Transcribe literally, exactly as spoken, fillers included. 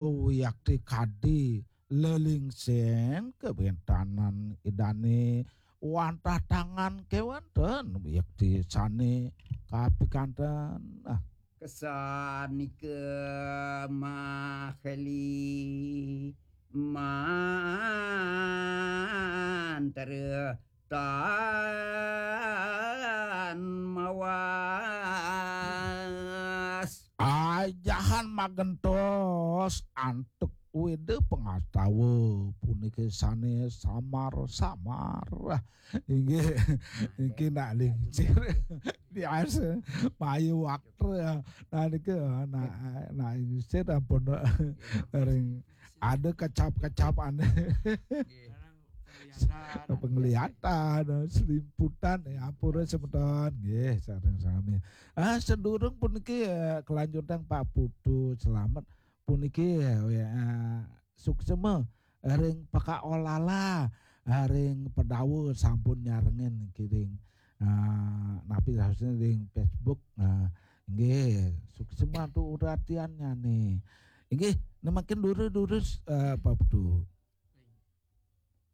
Wiakti kadi lelingsing kawéntenan Idané wantah tangan kéwanten wiakti sané kapikanten. Ah. Kesanika maheli mantra tan mawas. Ajahan magentos antuk Weda pangastawa puniki sané samar-samar. Inggih, niki nak lingsir. Biasa, payu waktu ya. Nah, niki, nah, nah, lingsir ampun ring ada kecap-kecapane. Penglihatan, selimputan, ya, ampura semeton. Nggih, sareng sami. Ah, sedurung puniki, eh, kelanjutan Pak Putu Selamet puniki, eh, suksema ring pakaolala, ring pedawa sampun nyarengin kiring. Ah, napi sausnya ring Facebook. Ah, nggih, suksema tu uratiannya nih. Inggih, nemakin duru-duru, eh, Pak Putu.